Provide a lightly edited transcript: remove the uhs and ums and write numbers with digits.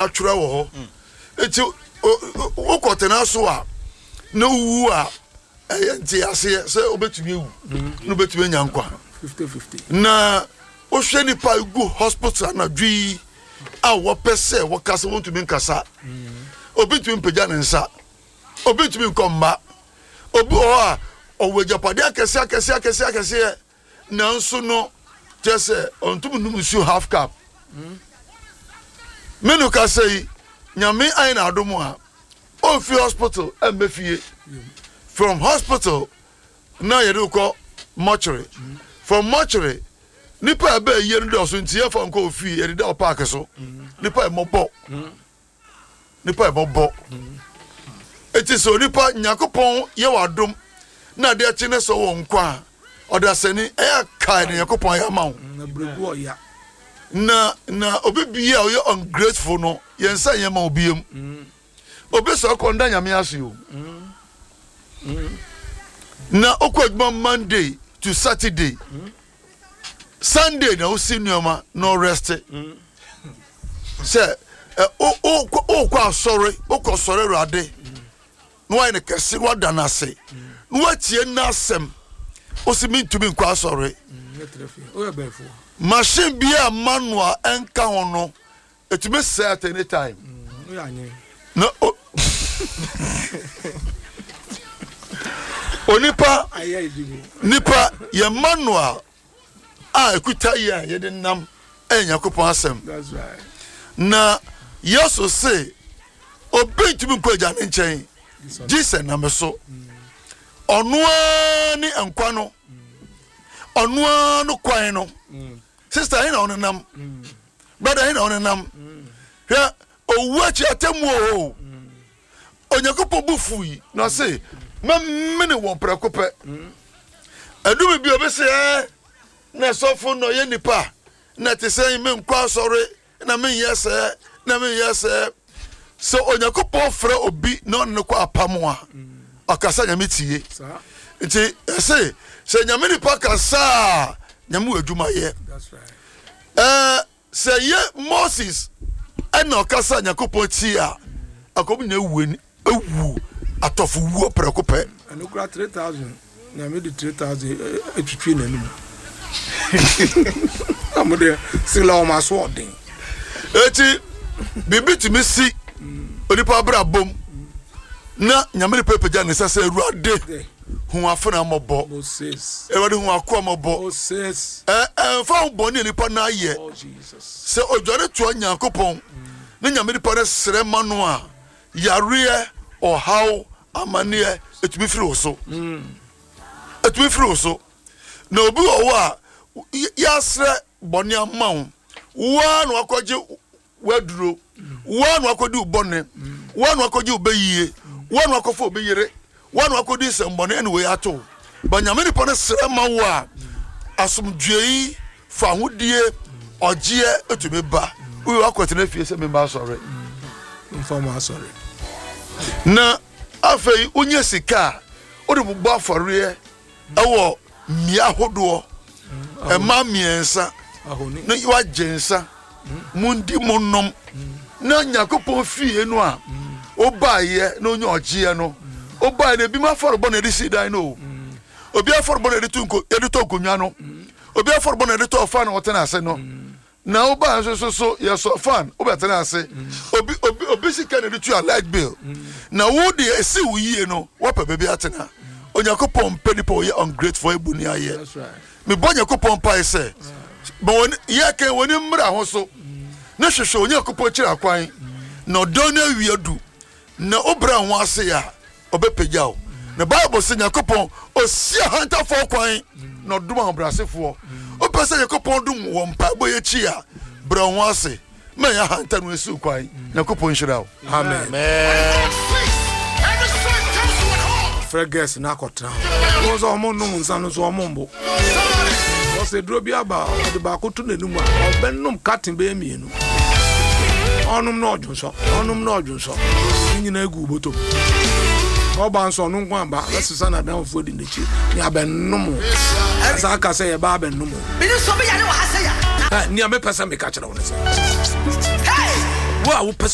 Atwerɛ wɔ hɔ. Enti wokɔtena so a na wowu a, ɛyɛ nteaseɛ sɛ wobɛtumi awu na wobɛtumi anya nkwa. Na wohwɛ nipa a gu hospital anadwo yi a wɔpɛ sɛ wɔkasa wɔntumi nkasa. Obi ntumi mpagya ne nsa. Obi ntumi nkɔ mma. Obi wɔ hɔ a ɔwɔ agyapadeɛ akɛseɛ akɛseɛ akɛseɛ akɛseɛ. Nanso no, kyerɛ sɛ ɔntum nnom nsuo half cup. Me no kasa yi, Nyame ayɛ no adom a, ɔmfi hospital ɛmmɛ fie. From hospital na yɛde kɔ mortuary. From mortuary, nipa a ɛbɛ yie no dɔɔso nti yɛfa nkɔ ofie, yɛde da wɔ park so. Nipa ɛmɔbɔ. Nipa yɛ bɔbɔ. Eti sɛ onipa Nyankopɔn yɛ w'adom na adeɛ kye ne sɛ wɔ nkwa a, ɔdasani ɛyɛ kae ne Nyankopɔn ayɛ ama wo. Na na obi bia a ɔyɛ ungrateful no yɛn nsa nyɛ ma obi mu. Obi sɛ ɔkɔ nda Nyame ase o. Na okɔ adwuma Monday to Saturday. Sunday na wosi nneɛma na ɔrɛste sɛ wokɔ asɔre wokɔ sɔre awurade na wayɛ no kɛse na wada no ase na watie n'asɛm wosi mentumi nkɔ asɔre machine bi a manual ɛnka ho no ɛtumi sɛ at any time na onipa nipa yɛ manual a ɛkuta yɛ a yɛde nam ɛyɛ Nyankopɔn asɛm na Yesu se obi ntumi nkɔ agya ne nkyɛn gye sɛ nam so. Ɔno ara ne nkwa no, ɔno ara no kwan no. Sista he na ɔnenam, brada he na ɔnenam. Hwɛ owu akyi atemmu o. Onyankopɔn bo fui na ɔse mɛmene wɔn prɛko pɛ. Ɛdumi bi obi se ɛ na sɔfo na ɔyɛ nipa na te sɛ menkɔ asɔre na menyɛ sɛɛ na menyɛ sɛɛ. Sɛ Onyankopɔn frɛ obi na ɔne no kɔ apam a, ɔkasa Nyame tie. Nti ɛse sɛ Nyame nipa kasa a, Nyame wɔ adwuma yɛ. Ɛɛ Sɛ yɛ Moses na ɔkasa Nyankopɔn tie a, anka wɔn nyinaa awu awu atɔfo wuo prɛko pɛ. Ɛno kora 3000 Nyame de 3000 atwitwi n'anum. Na mo deɛ sila wɔn aso ɔden. Eti biribi tumi si onipa abrabom na Nyame de pɛpɛgya ne nsa sɛ Awurade hu afena mmɔbɔ. Awurade hu akoa mmɔbɔ. Ɛmfa ho bɔne a nipa no ayɛ, oh, sɛ odwane toa Nyankopɔn ne Nyame nipa no srɛ ma no a, yareɛ, ɔhaw, amanneɛ ɛtumi firi wo so. Ɛtumi mm. firi wo so. Na obi wɔ hɔ a yɛasrɛ bɔne ama wo, woa na wakɔgye w'aduro, woa na wakɔdi wo bɔne, woa na wakɔgye wo bɛyie, woa na wakɔfa obi yere, woa na wakɔdi nsɛmbɔne ɛna wei ato wo. Ba Nyame nipa no srɛ ma wo a, asomdwoe, fahodie, ɔgyeɛ ɛtumi ba. Woyɛ wakɔtena fie sɛ memba asɔre. Mfa mo asɔre. Na afei wonya sika a, wode bobɔ afɔreɛ ɛwɔ mmea ahodoɔ ɛma mmiɛnsa na wagye nsa mundi mo nom na Nyankopɔn fie no a wobaeɛ na onya ɔgyeɛ no wobaeɛ no ebi mu afɔrebɔ na yɛde si dan no o obi afɔrebɔ na yɛde to nko yɛde tɔ nkonnwa no obi afɔrebɔ na yɛde tɔ ɔfa na ɔtena ase no Na wo baa nso so so yɛsɔ fan wobɛtena ase. Obi obi obi sika na ɛde tua light bill. Na wo deɛ esi wo yie no woapɛ baabi atena. Onyankopɔn mpɛ nipa ɔyɛ ungrateful ɔyɛ boni ayɛ. Mebɔ Nyankopɔn mpae sɛ ma wɔn yɛ kɛn wɔn ani mmra ho so ne hwehwɛ Onyankopɔn kyerɛ akwan na ɔdɔn no awia du na wobrɛ ho ase a ɔbɛpagya wo. Na Bible sɛ Nyankopɔn ɔsi ahantafoɔ kwan na ɔdom ahobrɛasefoɔ. Wopɛ sɛ Nyankopɔn dom wɔ mpaebɔ yi akyi a, brɛ wo ho ase ma ɛnyɛ ahantan no asiw kwan. Nyankopɔn nhyira wo. Amen. Frɛ girls no akɔtena hɔ. Wɔn sɛ wɔn nom nsa no so wɔn mbo. Wɔsɛ duro bi aba ɔde baako to n'anum a ɔbɛnom carton bɛyɛ mmienu. Ɔnom na ɔdwonsɔ, ɔnom na ɔdwonsɔ. Ne nyinaa gu bɔtɔ mu. Ɔba nso ɔno nko aba bɛsesa n'adamfoɔ di n'akyi ne abɛnom. Asa aka sɛ yɛba abɛnom. Nea mepɛ sɛ meka kyerɛ wo ne sɛ wo a wopɛ